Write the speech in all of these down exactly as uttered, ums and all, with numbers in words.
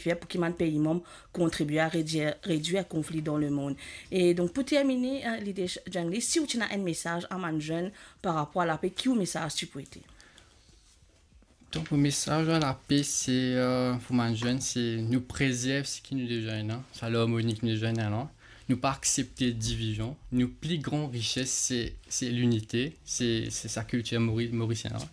fer pou ki bann pei manb kontribie a redwir, redwir konfli dan lemond. E donk, pou termine, eh, Litesh Jangli, si ou ti ena enn mesaz a bann zenn par rapor a lape, ki ou mesaz ti pou ete? Donk, mo mesaz a lape, se, eh, pou bann zenn, se nou prezerv seki nou deza ena, sa larmoni ki nou deza ena la. Nou pa aksepte divizion. Nou pli gran rises, se, se linite, se, se sa kiltir mori-, morisien la.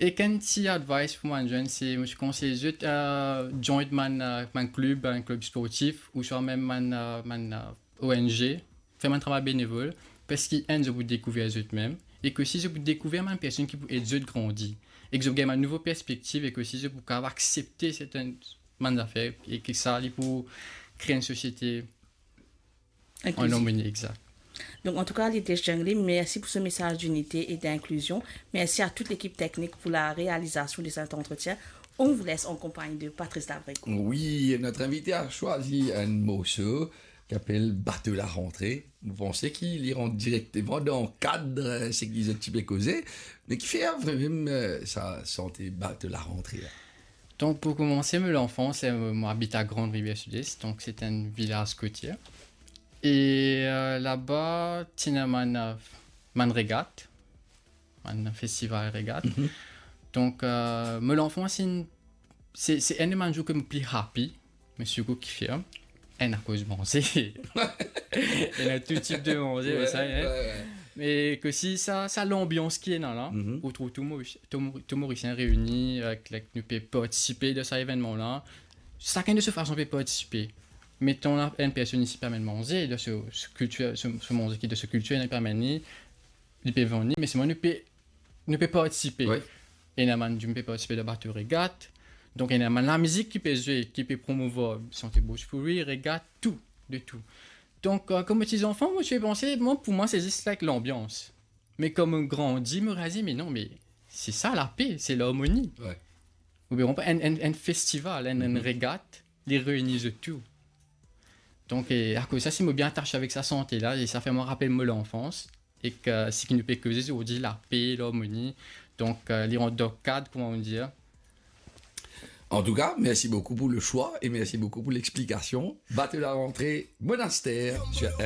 Ek enn ti advice pou bann zenn, se, mo ti konsey zot, eh, join bann, eh, bann klib, bann klib sportif, ouswa mem bann, eh, bann, eh, O N G, fer bann travay benevol, parski enn, zot pou dekouver zot mem, ek osi zot pou dekouver bann personn ki pou ed zot grandi, ek zot gagn bann nouvo perspektiv, ek osi zot pou kapav aksepte sertenn bann zafer, e ki sa, li pou kre enn sosiete an larmoni, egzakt. Donc, en tout cas, Litesh Jangli, merci pour ce message d'unité et d'inclusion. Merci à toute l'équipe technique pour la réalisation de cet entretien. On vous laisse en compagnie de Patrice Davreco. Oui, notre invité a choisi un morceau ki apel Bato Larantre. Mo panse ki li rant direkteman dan kad, eh, seki zot ti pe koze, me kifer vremem, eh, sa sante Bato Larantre la? Donk, pou koumanse, mo lanfans, eh, mo abit a Grande Rivière Sud-Est, donk se enn vilaz kotier. E, eh, laba, ti ena bann, eh, bann regat, bann festival regat. Mhm. Donk, eh, mo lanfans, se, se enn de bann zour ki mo pli happy, me sirtou ki fier, enn akoz manze. Ena tou tip de manze, me sa, hein. Ouais, ouais. Me ek osi sa, sa lanbians ki ena la, mhm, ou trouv tou Moris-, tou Mori-, tou Morisien reini, ek, ek nou pe partisipe dan sa evennman la. Sakenn de so fason pe partisipe. Meton la, enn personn isi pe amenn manze, dan so, so kiltir, so, so manze ki dan so kiltir, li pe amenn li, li pe vann li, me selman nou pe, nou pe partisipe. Wi. Ena bann dimoun pe partisipe dan bato regat. Donk, ena bann lamizik ki pe zwe, ki pe promouvoir sante bhojpuri, regat, tou, de tou. Donk, eh, kouma ti zanfan, mo ti pe panse, mwa, pou mwa, se zis, like, lanbians. Me kan mo grandi, mo realize, me non, me se sa lape, se larmoni. Wi. Ou pe konpran, enn, enn, enn festival, enn, enn, mhm, regat, li reini zot tou. Donk, eh, akoz sa, si mo bien atase avek sa sante la, e sa fer mwa rapel mo lanfans, ek, eh, seki nou pe koze zordi, lape, larmoni. Donk, eh, li rant dan kad, kouma nou dir. En tout cas, merci beaucoup pour le choix et merci beaucoup pour l'explication. Bato Larantre, Monastère sur